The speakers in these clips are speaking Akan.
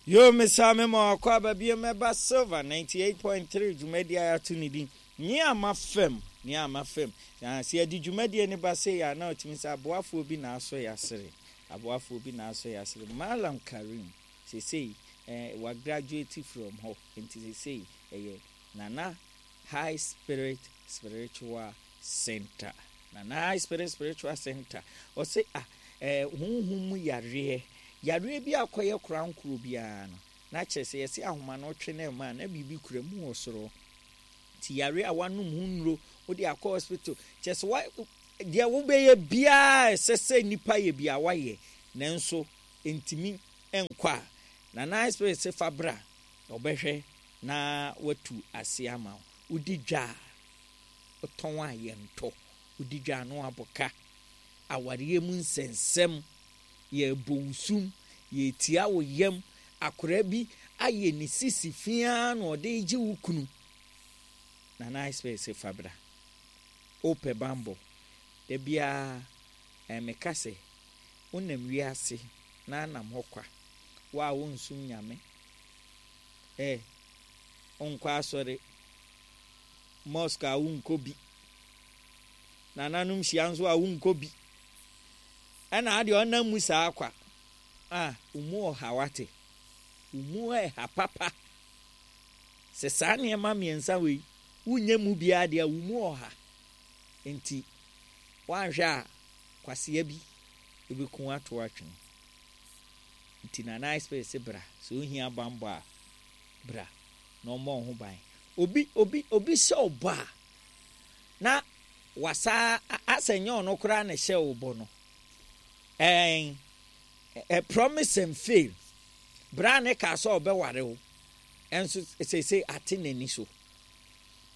Yo, mesaa me ma wakɔ aba bio mɛba Silver 98.3 dwumadie a yɛato ne din Nea Ama Fam, Nea Ama Fam. Na sɛ yɛde dwumadie no ba sei a, na ɔtumi sɛ aboafoɔ bi na asɔ yɛn asere. Aboafoɔ bi na asɔ yɛn asere. Mallam Karim, seesei eh, wa graduate from hɔ, nti seesei ɛyɛ Nana High Spirit Spiritual Center. Nana High Spirit Spiritual Center. Ɔse ah, eh, honhom mu yareɛ, yareɛ bi akɔyɛ korankoro biara no, na kyerɛ sɛ yɛse ahoma no twe no ɛma a, na biribi kura mu wɔ soro. Nti yareɛ a wanom ho nnuro, wode akɔ hospital, kyerɛ sɛ wa, deɛ wobɛyɛ biara ɛsɛ sɛ nipa yɛ bi a wayɛ, nanso ntumi nkɔ a, Nana High Spirit se fa bra, ɔbɛhwɛ na watu ase ama wo. Wodi dwa a, wotɔn a yɛntɔ. Wodi dwa a na wabɔ ka. Awareɛ mu nsɛnsɛm, yɛrebɔ wo sum, yɛretia wo yam. Akwadaa bi ayɛ ne sisi fi ara na ɔde regye wo kunu. Nana High Spirit se fa bra. Wopɛ bammɔ. Da biara eh, meka sɛ, wonam wiase na anam hɔ kwa. Wo a wonsom Nyame, eh, wonkɔ asɔre, mosque a wonkɔ bi, nananom hyia nso a wonkɔ bi, ɛna adeɛ ɔnam mu saa kwa a, wo mu ɔha wate, wo mu ɛha papa. Sɛ saa nneɛma mmiɛnsa wei, wonyɛ mu biara deɛ wo mu ɔha. Nti, woanhwɛ a, kwasea bi ɛbɛku ato atwene. Nti Nana Ice se bra, sɛ wohia bammɔ a, bra na ɔmmɔ wo ho ban. Obi, obi, obi hyɛ wo bɔ a, na wasa asɛ nyɛ ɔno koraa na ɛhyɛ wo bɔ no. Ɛn, ɛ, promise and fail. Bra ne kaa sɛ ɔbɛware wo, ɛnso seesei ate n'ani so.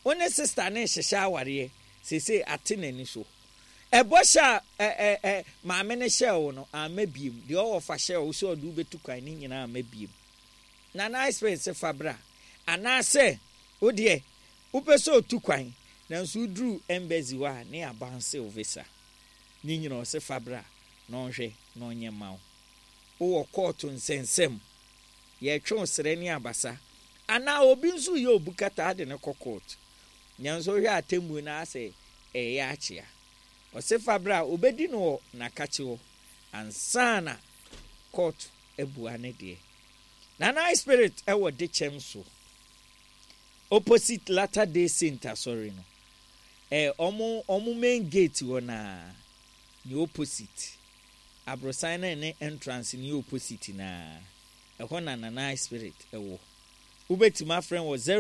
Wo ne sista ne hyehyɛ awareɛ, seesei ate n'ani so. Ɛbɔhyɛ a ɛ, ɛ, ɛ, maame no hyɛɛ wo no, amma biem. Deɛ ɔwɔ fa hyɛɛ wo sɛ ɔde wo bɛtu kwan ne nyinaa amma biem. Nana Ice Prince se fa bra. Anaasɛ wo deɛ wopɛ sɛ otu kwan nanso woduru embassy hɔ a ne yɛabounce wo visa. Ne nyina ɔse fa bra na ɔnhwɛ na ɔnyɛ mma wo. Wowɔ kɔɔto nsɛnsɛm, yɛretwe wo serɛ ne abasa. Anaa obi nso reyɛ obu kataa de no kɔ court. Nanso wohwɛ atemmuo no ara sɛ ɛreyɛ akyea. Ɔse fa bra, obɛdi no wɔ n'akakye hɔ ansa na court abua ne deɛ. Nana Spirit wɔ Dekyɛm so, opposite Latter Day Saint asɔre no. Eh, ɔmo, ɔmo main gate hɔ naa, ne opposite. Aborosan no ne entrance no yɛ opposite naa. Ɛhɔ na Nana Spirit wɔ. Wobɛtumi afrɛ wɔ 0.